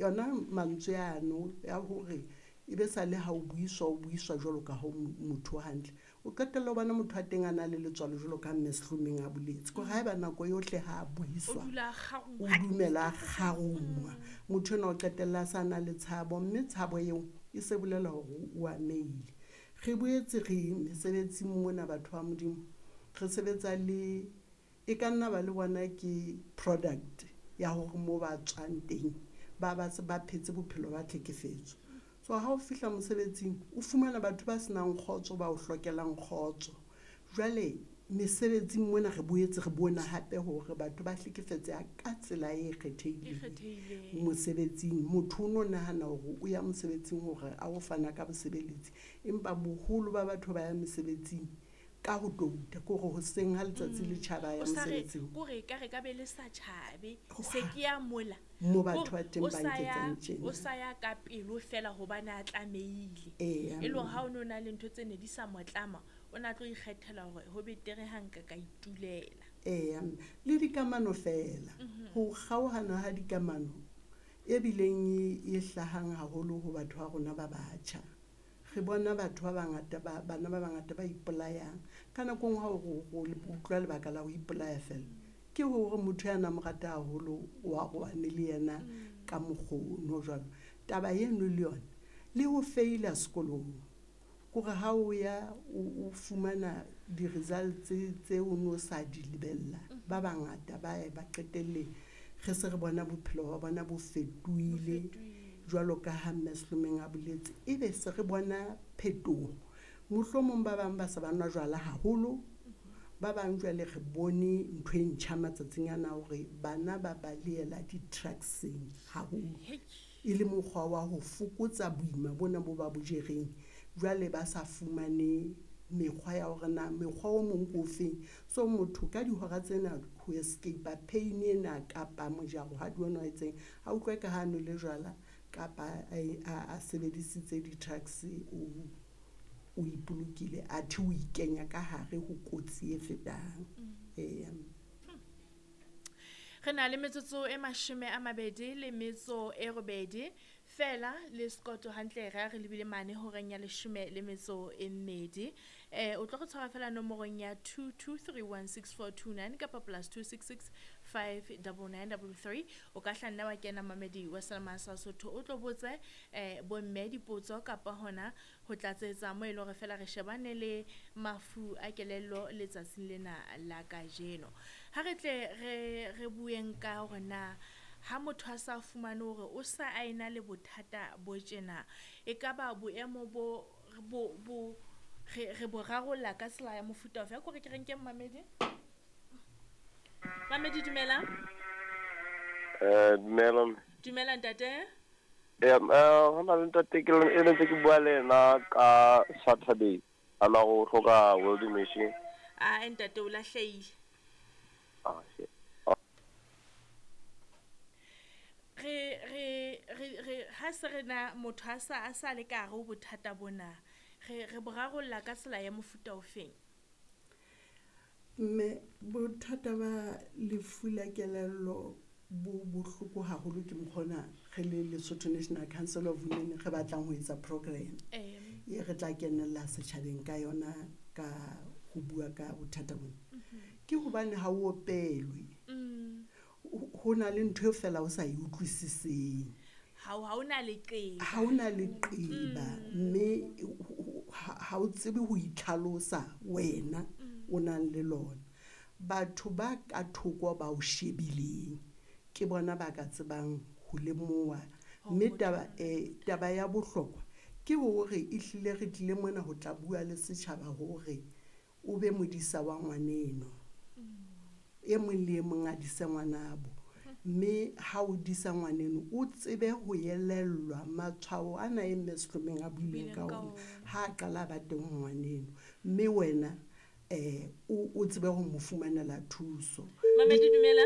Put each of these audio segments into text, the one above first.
Yona mantswe ano ya hore e be sa le ha o buiswa, o buiswa jwalo ka ha motho hantle. O qetella o bona motho wa teng a na le letswalo jwalo ka mme Sehlomeng a boletse. Ke hore haeba nako yohle ha a buiswa, o dumela a kgarungwa. Motho enwa o qetella a sa na le tshabo, mme tshabo eo e se bolela hore o amehile. Re boetse re mesebetsing mona, batho ba Modimo, re sebetsa le e ka nna ba le bona ke product ya hore mo ba tswang teng ba ba se ba phetse bophelo ba tlhekefetso. So ha o fihla mosebetsing o fumana batho ba senang kgotso, ba o hlokelang kgotso. Jwale mesebetsing mona re boetse re bona hape hore batho ba hlekefetseha ka tsela e kgethehileng mosebetsing. Motho o no nahana hore o ya mosebetsing hore a o fana ka bosebeletsi, empa boholo ba batho ba ya mesebetsing ka ho touta, ke hore hoseng ha letsatsi le tjhaba ya mosebetsing. Kore ka re ka be le sa tjhabe, se ke ya mola. Mo batho ba teng ba nketsang tjena. O sa ya ka pelo fela hobane a tlamehile. E le hore ha o no na le ntho tse ne di sa mo tlama, o na tlo ikgethela hore ho betere ha nka ka itulela. Eya, le dikamano fela. Ho kgaohana ha dikamano e bileng e hlahang haholo ho batho ba rona ba batjha. Re bona batho ba bangata ba bana ba bangata ba ipolayang. Ka nako e nngwe ha o utlwa lebaka la ho ipolaya fela, ke hore motho ya nang mo rata haholo o arohane le yena ka mokgono jwalo. Taba eno le yona le ho feila sekolong, kore ha o ya o fumana di-results tse o no sa di lebella, ba bangata ba ye ba qetelle re se re bona bophelo ba bona bo fetohile jwalo ka ha mme Sehlomeng a boletse, ebe se re bona phetoho. Mohlomong ba bang ba se ba nwa jwala haholo, ba bang jwale re bone ntho e ntjha matsatsing ana hore bana ba balehela di-drugs-eng haholo, e le mokgwa wa ho fokotsa boima bona bo ba bo jereng. Jwale ba sa fumane mekgwa ya hore na mekgwa o mong ke ofeng. So motho ka dihora tsena ho escape pain ena kapa mojaro ha di ona o etseng, a utlwe ka ha nwele jwala kapa a sebedisitse di-drugs, o ipolokile, athe o ikenya ka hare ho kotsi e fetang. Eya. Re na le metsotso e 28 fela le Scott hantle re re lebile mane horeng ya 12. O tlo re tshwara fela nomorong ya 22316429 kapa +266 59933. O ka hlanna wa kena mamedi wa Selma sa Sotho, o tlo botse bomme dipotso kapa hona ho tlatsetsa mo e le hore fela re shebane le mafu a kelello letsatsing lena la kajeno. Ha re tle re bueng ka hore na ha motho a sa fumane hore o sa a ena le bothata bo tjena, e ka ba boemo bo bo re bo rarolla ka tsela ya mofuta ofe? Ko re ke re nke mamedi. Mamedi, dumela. Dumela. Dumela ntate. Hona le ntate ke le ntse ke bua le yena ka Saturday, ana go hloka welding machine. Ah, ntate o lahlehile. Ah, shit. Re ha se re na motho a sa le ka hare ho bothata bona, re bo rarolla ka tsela ya mofuta ofeng? Mme bothata ba lefu la kelello bo bohloko haholo. Ke mokgona re le Lesotho National Council of Women re batlang ho etsa program e re tla kenella setjhabeng ka yona ka ho bua ka bothata bona. Ke hobane ha o opelwe, ho na le ntho e fela o sa e utlwisiseng. Ha o na leqeba. Ha o na leqeba, mme ha o tsebe ho itlhalosa wena o nang le lona. Batho ba ka thoko ba o shebileng ke bona ba ka tsebang ho lemoha. Mme taba ya bohlokwa ke hore ehlile re tlile mona ho tla bua le setjhaba hore o be modisa wa ngwaneno. E mong le e mong a dise ngwanabo. Mme ha o disa ngwaneno, o tsebe ho elellwa matshwao ana e mme Sehlomeng a buileng ka ona ha a qala ba teng ho ngwaneno. Mme wena o tsebe ho mo fumanela thuso. Mamedi, dumela.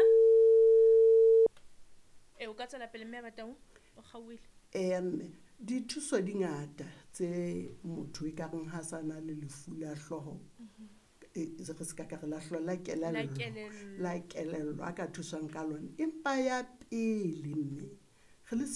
O ka tswela pele mme Batau, o kgaohile. Mme dithuso di ngata tse motho e ka reng ha sa na le lefu la hlooho, re se ka ka re la hlooho, la kelello, la kelello a ka thuswang ka lona. Empa ya pele mme re le